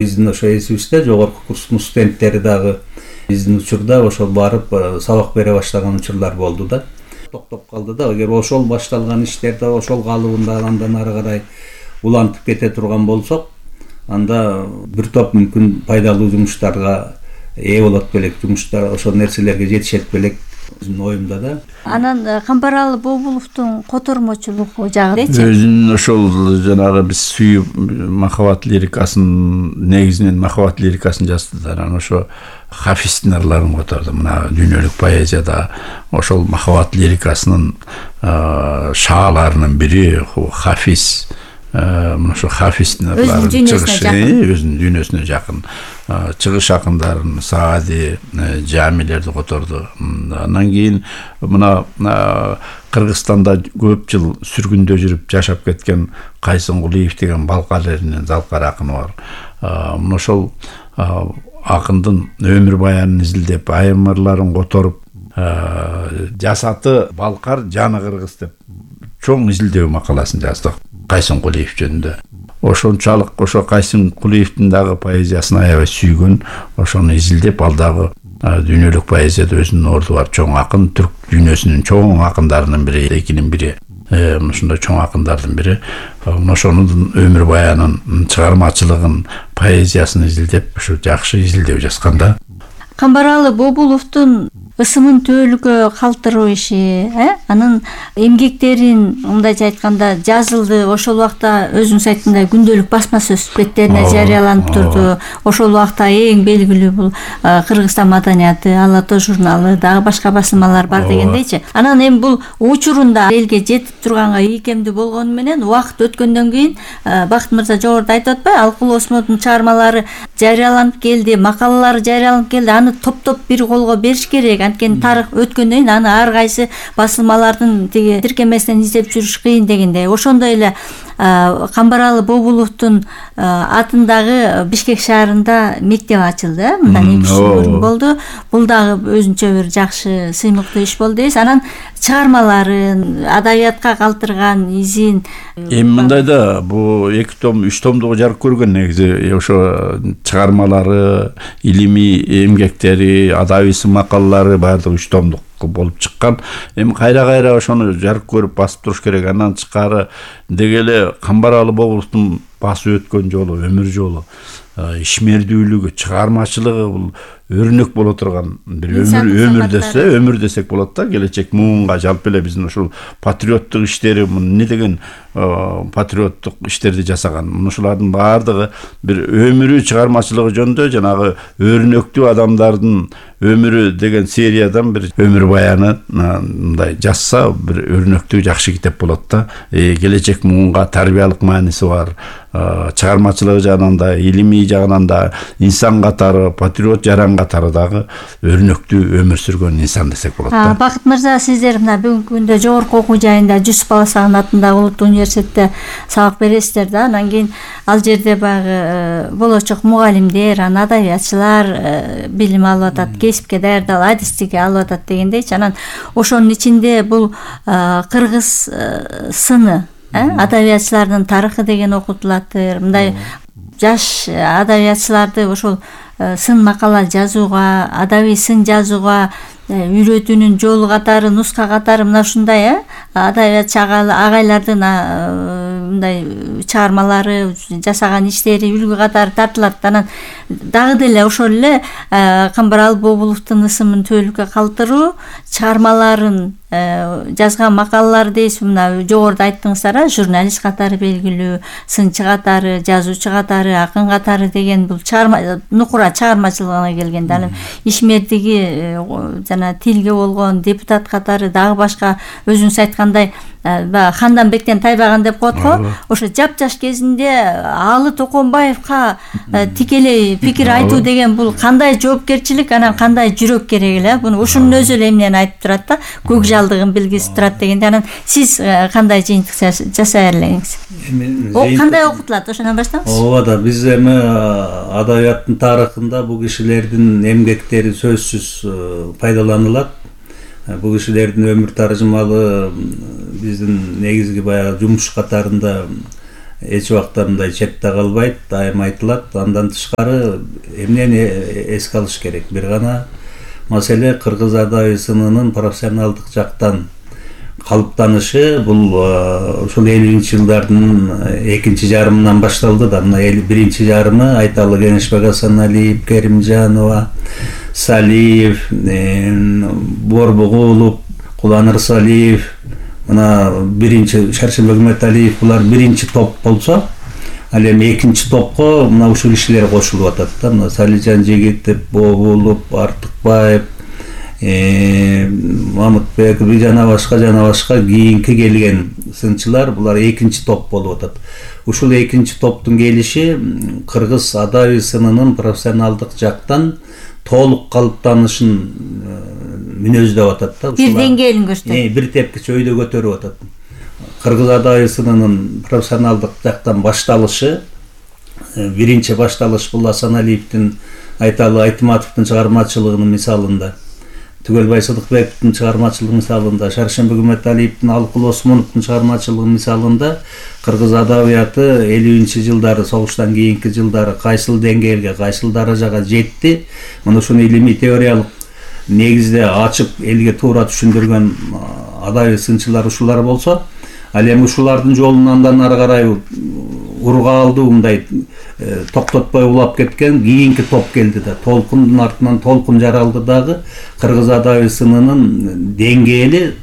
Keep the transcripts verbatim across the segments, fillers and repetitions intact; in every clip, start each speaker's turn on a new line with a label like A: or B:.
A: Биздин ошо эсибизде жогорку курстун студенттери дагы биздин учурда ошол барып сабак бере баштаган учурлар болду да. Токтоп калды да. Эгер ошол башталган иштерде ошол калыбында андан ары карай улантып кете турган болсок, анда бир топ мүмкүн пайдалуу жумуштарга ээ болот белек, жумуштар ошол нерселерге жетишет белек өзүмдүн оюмда да.
B: Анан Камбаралы Бобуловдун котормочулугу жагычы.
C: Өзүнүн ошол жанагы биз сүйүү махабат лирикасын, негизинен махабат лирикасын жазды да. Анан ошо Хафиздин ырларын которду. Мына дүйнөлүк поэзияда ошол махабат лирикасынын шааларынын бири Хафиз. Мына ошо Хафиздин ырларын чыгышы, өзүнүн дүйнөсүнө жакын чыгыш акындарын, Саади, Жамилерди которду. Андан кийин мына Кыргызстанда көп жыл сүргүндө жүрүп жашап кеткен Кайсын Кулиев деген Балкар элинин залкар акыны бар. Мына ошол акындын өмүр баянын изилдеп, айым ырларын которуп, жасаты Балкар, жаны Кыргыз деп чоң изилдөө макаласын жаздык Кайсын Кулиев жөнүндө. Ошончалык ошо Кайсын Кулиевдин дагы поэзиясын аябай сүйгөн, ошону изилдеп, ал дагы дүйнөлүк поэзияда өзүнүн орду бар чоң акын, түрк дүйнөсүнүн чоң акындарынын бири, экинин бири. Ушундай чоң акындардын бири. Ошонун өмүр баянын, чыгармачылыгын, поэзиясын изилдеп, ушу жакшы изилдөө жазган да.
B: Камбаралы Бобуловдун ысымын төөлүккө калтыруу иши, э? Анын эмгектерин мындайча айтканда жазылды. Ошол убакта өзүң айткандай күндөлүк басма сөз беттерине жарыяланып турду. Ошол убакта эң белгилүү бул Кыргызстан маданияты, Ала тоо журналы, дагы башка басылмалар бар дегендейчи. Анан эми бул учурунда элге жетип турганга ийкемдүү болгону менен убакыт өткөндөн кийин Бакыт мырза жогоруда айтып атпайбы, Алкул Осмондун чыгармалары жарыяланып келди, макалалары жарыяланып келди. Аны топтоп бир колго бериш керек. Анткени тарых өткөндөн кийин аны ар кайсы басылмалардын тиги тиркемесинен издеп жүрүш кыйын дегендей. Ошондой эле Камбаралы Бобуловдун атындагы Бишкек шаарында мектеп ачылды. Мындан эки жыл мурун болду. Бул дагы өзүнчө бир жакшы сыймыктуу иш болду дейсиз. Анан чыгармаларын, адабиятка калтырган изин
C: эми мындай да, бул эки том, үч томдугу жарык көргөн негизи. Ошо чыгармалары, илимий эмгектери, адабий макалалары баардыгы үч томдук болуп чыккан. Эми кайра-кайра ошону жарык көрүп басып туруш керек. Андан тышкары деги эле Камбаралы Бобуловдун басып өткөн жолу, өмүр жолу, ишмердүүлүгү, чыгармачылыгы бул өрнөк боло турган бир өмүр өмүр десе, өмүр десек болот да. Келечек муунга жалпы эле биздин ушул патриоттук иштери, эмне деген патриоттук иштерди жасаган. Ушулардын баардыгы бир өмүрү, чыгармачылыгы жөнүндө жанагы өрнөктүү адамдардын өмүрү деген сериядан бир өмүр баяны мындай жазса, бир өрнөктүү жакшы китеп болот да. Келечек муунга тарбиялык мааниси бар. Чыгармачылыгы жагынан да, илимий жагынан да, инсан катары, патриот жаран катары дагы өрнөктүү өмүр сүргөн инсан десек болот да.
B: Бакыт мырза, сиздер мына бүгүнкү күндө жогорку окуу жайында Жусуп Баласагын атындагы улуттук университетте сабак бересиздер да. Анан кийин ал жерде багы болочок мугалимдер, анан адабиятчылар билим алып атат, кесипке даярдалып, адистикке алып атат дегендейчи. Анан ошонун ичинде бул кыргыз сыны, адабиятчылардын тарыхы деген окутулат. Мындай жаш адабиятчыларды ошол сын макала жазууга, адабий сын жазууга үйрөтүүнүн жолу катары, нуска катары мына ушундай адабиятчы агайлардын мындай чыгармалары, жасаган иштери үлгү катары тартылат. Анан дагы деле ошол эле Камбаралы Бобуловдун ысымын төөлүккө калтыруу, чыгармаларын жазган макалалар дейсиз, мына жогоруда айттыңыздар, журналист катары белгилүү, сынчы катары, жазуучу катары, акын катары деген бул чыгарма нукура чыгармачылыгына келгенде, анан ишмердиги жана тилге болгон депутат катары дагы башка өзүңүз айткандай Ханданбектен тайбаган деп коет го. Ошо жапжаш кезинде Алы Токонбаевка тикелей пикир айтуу деген бул кандай жоопкерчилик, анан кандай жүрөк керек эле. Буну ушунун өзү эле эмнени айтып турат да, көк жалдыгын билгизип турат дегенде. Анан сиз кандай жыйынтык жасай элеңиз? Кандай окутулат? Ошондон баштаңыз.
A: Ооба да, биз эми адабияттын тарыхында бул кишилердин эмгектери сөзсүз пайдаланылат. Бул кишилердин өмүр тарыжымалы биздин негизги баягы жумуш катарында эч убакта мындай четте калбайт, дайым айтылат. Андан тышкары эмнени эске алыш керек? Бир гана маселе кыргыз адаби сынынын профессионалдык жактан калыптанышы бул ушул элүүнчү жылдардын экинчи жарымынан башталды да. Мына биринчи жарымы айталы Кеңешбек Асаналиев, Керимжанова, Салиев, Борбугулов, Куланыр Салиев, мына биринчи Шаршембек Үмөталиев, булар биринчи топ болсо, ал эми экинчи топко мына ушул кишилер кошулуп атат да. Мына Салижан Жигитов, Бобулов, Артыкбаев, Мамытбеков жана башка жана башка кийинки келген сынчылар, булар экинчи топ болуп атат. Ушул экинчи топтун келиши кыргыз адаби сынынын профессионалдык жактан толук калыптанышын мүнөздөп атат да.
B: Бир деңгээлин көрсөтөт.
A: Бир тепкиче өйдө көтөрүп атат. Кыргыз адаби сынынын профессионалдык жактан башталышы, биринчи башталыш бул Асаналиевдин, Айталы Айтматовдун чыгармачылыгынын мисалында, Түгөлбай Сыдыкбековдун чыгармачылыгынын мисалында, Шаршембек Үмөталиевдин, Алыкул Осмоновдун чыгармачылыгынын мисалында кыргыз адабияты элүүнчү жылдары, согуштан кийинки жылдары кайсыл деңгээлге, кайсыл даражага жетти. Мына ушуну илимий теориялык негизде ачып элге туура түшүндүргөн адаби сынчылар ушулар болсо, ал эми ушулардын жолун андан ары карай урга алды, мындай токтотпой улап кеткен кийинки топ келди да. Толкундун артынан толкун жаралды дагы. Кыргыз адаби сынынын деңгээли,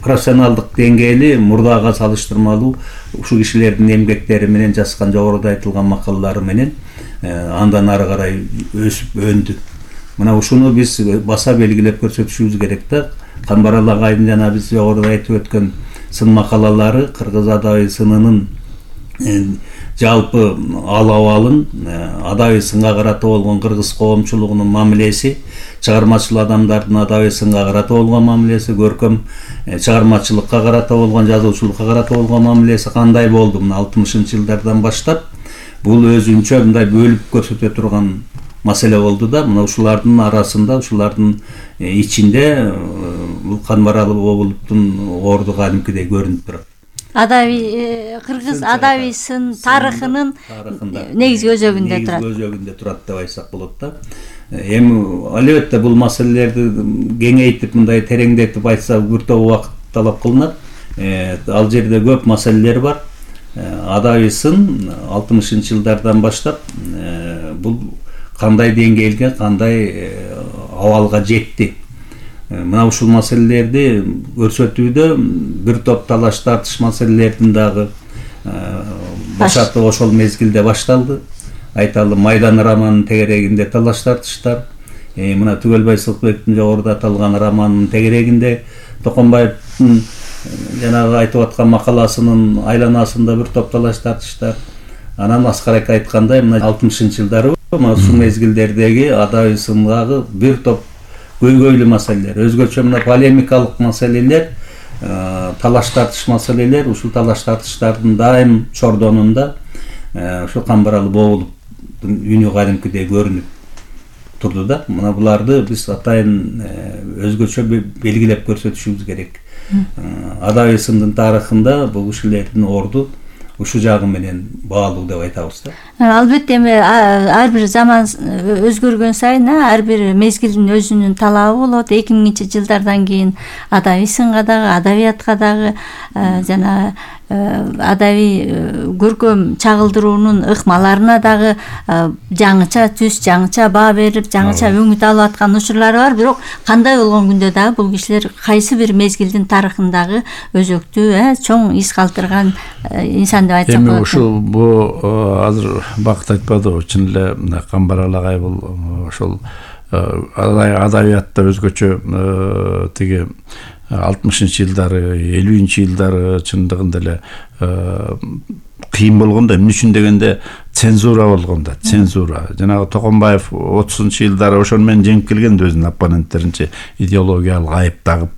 A: профессионалдык деңгээли мурдага салыштырмалуу ушул кишилердин эмгектери менен, жазган жогоруда айтылган макалалары менен андан ары карай өсүп өндү. Мына ушуну биз баса белгилеп көрсөтүшүбүз керек да. Камбарал агайдын жана биз жогоруда айтып өткөн сын макалалары кыргыз адаби сынынын жалпы ал абалын, адаби сынга карата болгон кыргыз коомчулугунун мамилеси, чыгармачыл адамдардын адаби сынга карата болгон мамилеси, көркөм чыгармачылыкка карата болгон, жазуучулукка карата болгон мамилеси кандай болду? Мына алтымышынчы жылдардан баштап бул өзүнчө мындай бөлүп көрсөтө турган маселе болду да. Мына ушулардын арасында, ушулардын ичинде бул Канбарал Обуловдун орду кадимкидей көрүнүп турат.
B: Адаби кыргыз адаби сын тарыхынын негизги өзөгүндө турат.
A: Негизги өзөгүндө турат деп айтсак болот да. Эми албетте бул маселелерди кеңейтип, мындай тереңдетип айтса бир топ убакыт талап кылынат. Ал жерде көп маселелер бар. Адаби сын алтымышынчы жылдардан баштап бул кандай деңгээлге, кандай абалга жетти. Мына ушул маселелерди көрсөтүүдө бир топ талаш тартыш маселелердин дагы башаты ошол мезгилде башталды. Айталы Майдан романынын тегерегинде талаш тартыштар, мына Түгөлбай Сыдыкбековдун жогоруда аталган романынын тегерегинде, Токонбаевдин жанагы айтып аткан макаласынын айланасында бир топ талаш тартыштар. Анан Аскар айткандай, мына алтымышынчы жылдары мына ушул мезгилдердеги адаби сындагы бир топ көйгөйлүү маселелер, өзгөчө мына полемикалык маселелер, талаш тартыш маселелер, ушул талаш тартыштардын дайым чордонунда ушул Камбарал Бобуловдун үнү кадимкидей көрүнүп турду да. Мына буларды биз атайын өзгөчө белгилеп көрсөтүшүбүз керек. Адаби сындын тарыхында бул кишилердин орду ушу жагы менен баалуу деп айтабыз да.
B: Албетте эми ар бир заман өзгөргөн сайын ар бир мезгилдин өзүнүн талабы болот. эки миңинчи жылдардан кийин адаби сынга дагы, адабиятка дагы жана адаби көркөм чагылдыруунун ыкмаларына дагы жаңыча түс, жаңыча баа берип, жаңыча өңүт алып аткан учурлары бар. Бирок кандай болгон күндө дагы бул кишилер кайсы бир мезгилдин тарыхындагы өзөктүү, чоң из калтырган инсан деп айтсак болот.
C: Эми ушул бу азыр бакыт айтпадыбы, чын эле Камбарал агай бул ошол адабиятта өзгөчө тиги алтымышынчы жылдары, элүүнчү жылдары чындыгында эле кыйын болгон да. Эмне үчүн дегенде цензура болгон да, цензура. Жанагы Токонбаев отузунчу жылдары ошону менен жеңип келген да, өзүнүн оппоненттеринче идеологиялык айып тагып,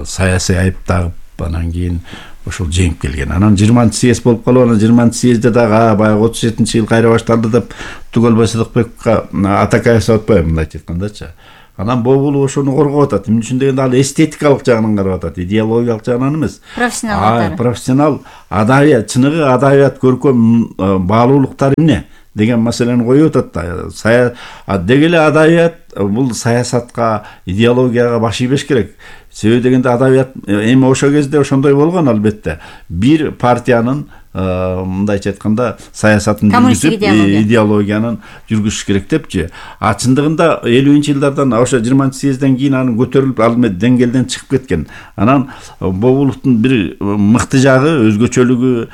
C: саясий айып тагып, анан кийин ошол жеңип келген. Анан жыйырманчы съезд болуп калып, анан жыйырманчы съездде дагы баягы отуз жетинчи жыл кайра башталды деп Түгөлбай Сыдыкбековго Атакаев атпайбы, мындайча айткандачы. Анан Бобулов ошону коргоп атат. Эмне үчүн дегенде ал эстетикалык жагынан карап атат, идеологиялык жагынан эмес.
B: Профессионал.
C: Профессионал адабият, чыныгы адабият көркөм баалуулуктар эмне деген маселени коюп атат да. Сая деги эле адабият бул саясатка, идеологияга баш ийбеш керек. Себеби дегенде адабият эми ошол кезде ошондой болгон албетте. Бир партиянын мындайча айтканда саясатын жүргүзүп, идеологиянын жүргүзүш керек депчи. А чындыгында элүүнчү жылдардан ошо жыйырманчы съезден кийин анын көтөрүлүп ал деңгээлден чыгып кеткен. Анан Бобуловдун бир мыкты жагы, өзгөчөлүгү,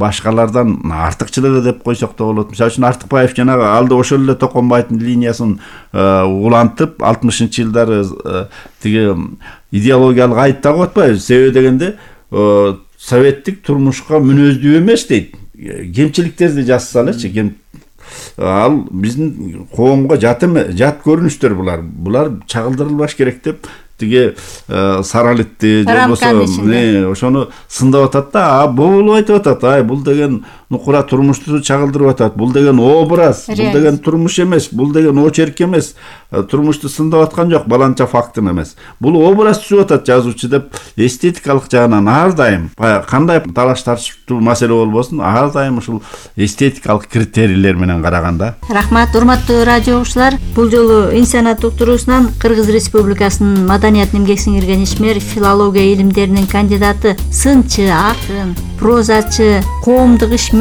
C: башкалардан артыкчылыгы деп койсок да болот. Мисалы үчүн Артыкбаев жанагы алды ошол эле Токонбайдын линиясын улантып, алтымышынчы жылдары тиги идеологиялык айып тагып атпайбы? Себеби дегенде советтик турмушка мүнөздүү эмес дейт. Кемчиликтерди жазса элечи, кем ал биздин коомго жат эме, жат көрүнүштөр булар. Булар чагылдырылбаш керек деп тиги саралитти жобосо ошону сындап атат да. А Бобулов айтып атат, ай бул деген нукура турмушту чагылдырып атат. Бул деген образ, бул деген турмуш эмес, бул деген очерк эмес. Турмушту сындап аткан жок, баланча фактын эмес. Бул образ түзүп атат жазуучу деп эстетикалык жагынан ар дайым кандай талаш тартыштуу маселе болбосун, ар дайым ушул эстетикалык критерийлер менен караганда.
B: Рахмат, урматтуу радио угуучулар. Бул жолу инсаният уктуруусунан Кыргыз Республикасынын маданият эмгек сиңирген ишмер, филология илимдеринин кандидаты, сынчы, акын, прозачы, коомдук ишмер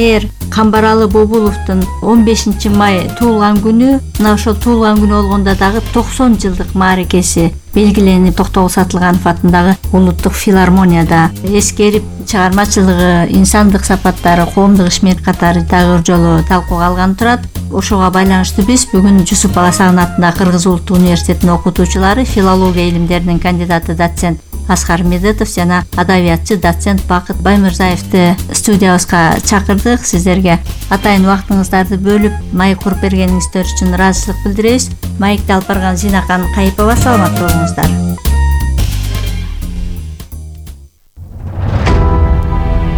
B: Камбаралы Бобуловдун он бешинчи май туулган күнү, мына ошол туулган күнү болгондо дагы токсон жылдык мааракеси белгиленип, Токтогул Сатылганов атындагы улуттук филармонияда эскерип, чыгармачылыгы, инсандык сапаттары, коомдук ишмер катары дагы бир жолу талкууга алган турат. Ошого байланыштуу биз бүгүн Жусуп Баласагын атындагы Кыргыз Улуттук университетинин окутуучулары, филология илимдеринин кандидаты доцент Аскар Медетов жана адабиятчы доцент Бакыт Баймырзаевди студиябызга чакырдык. Сиздерге атайын убактыңыздарды бөлүп маек куруп бергениңиздер үчүн ыраазычылык билдиребиз. Маекти алып барган Зинакан Кайыпова, саламаттуу болуңуздар.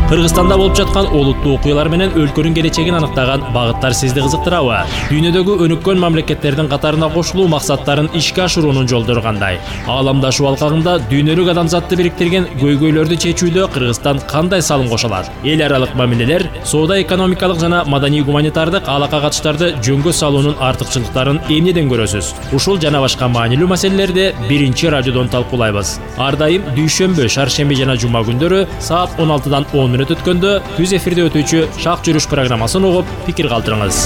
D: Кыргызстанда болуп жаткан олуттуу окуялар менен өлкөнүн келечегин аныктаган багыттар сизди кызыктырабы? Дүйнөдөгү өнүккөн мамлекеттердин катарына кошулуу максаттарын ишке ашыруунун жолдору кандай? Ааламдашуу алкагында дүйнөлүк адамзатты бириктирген көйгөйлөрдү чечүүдө Кыргызстан кандай салым кошо алат? Эл аралык мамилелер, соода экономикалык жана маданий гуманитардык алака катыштарды жөнгө салуунун артыкчылыктарын эмнеден көрөсүз? Ушул жана башка маанилүү маселелерди биринчи радиодон талкуулайбыз. Ар дайым дүйшөмбү, шаршемби жана жума күндөрү саат он алтыдан он өткөндө түз эфирде өтүүчү Шак жүрүш программасын угуп, пикир калтырыңыз.